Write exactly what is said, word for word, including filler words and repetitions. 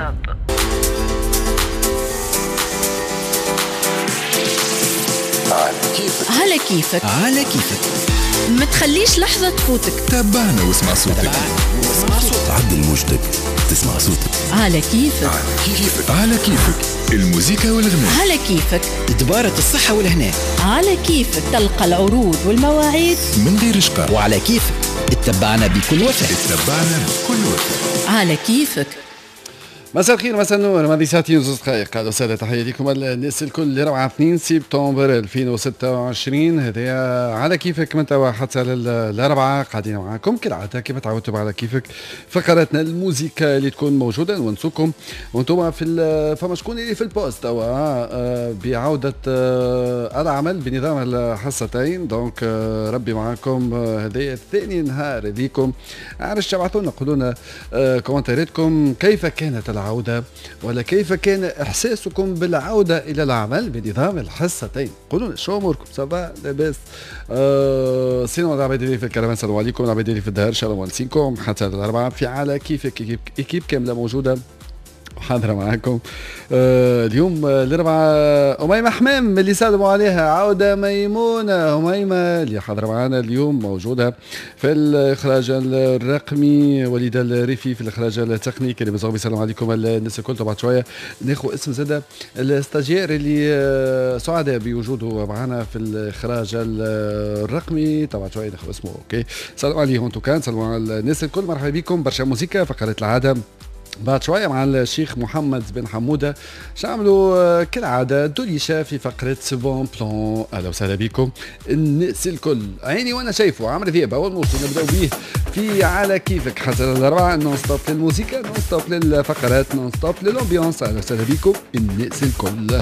stop. على كيفك على كيفك على كيفك، ما تخليش لحظة تفوتك. تابعنا واسمع صوتك، واسمع صوتك، عدل موجتك تسمع صوتك. على كيفك على كيفك على كيفك، الموزيكا والغناء على كيفك، دبارة الصحة والهنا على كيفك، تلقى العروض والمواعيد من غير شقاء. وعلى كيفك اتبعنا بكل وفاء، اتبعنا بكل وفاء. على كيفك. مساء الخير، مساء النور، ماضي ساعتين وزوج دقائق. اهلا وسهلا، تحية لكم الناس الكل. روعة اثنين سبتمبر ألفين وستة وعشرين، هذايا على كيفك من توا حتى للأربعة قاعدين معاكم كالعادة كما تعودتوا على كيفك. فقراتنا الموزيكا اللي تكون موجودة نونسوكم وانتم في فما شكون اللي في ال pause توا بعودة العمل بنظام الحصتين، donc ربي معاكم. هذايا ثاني نهار ليكم، عرفت تبعثوا لنا قولوا لنا كومنتاراتكم كيف كانت العودة ولا كيف كان إحساسكم بالعودة إلى العمل بنظام الحصتين. قولوا لنا شو أموركم، ça va لاباس؟ أه sinon العباد اللي في الكرفان السلام عليكم، العباد اللي في الدار إن شاء الله مونسينكم حتى الأربعة في على كيفك. équipe كاملة موجودة حاضرة معاكم. آه اليوم الأربعة أميمة حمام اللي سلموا عليها، عودة ميمونة. أميمة اللي حاضرة معنا اليوم موجودة في الإخراج الرقمي، وليد الريفي في الإخراج التقني، كريم زغبي. سلام عليكم الناس الكل. بعد شوية ناخذ اسم زادة ال stagiaire اللي سعداء بوجوده معنا في الإخراج الرقمي، طبعا شوية ناخذ اسمه. OK، سلام عليهم en tout cas، سلام على الناس الكل، مرحبا بكم. برشا موسيقى، فقرة العادة بعد شوية مع الشيخ محمد بن حمودة شعملوا كالعادة دوليشة في فقرة bons plans. أهلا وسهلا بكم الناس الكل. عيني وأنا شايفه عمرو ذياب أول موسم نبداو به في على كيفك حتى الأربعة، non-stop للموسيقى، non-stop للفقرات، non-stop لل ambiance. أهلا وسهلا بكم الناس الكل.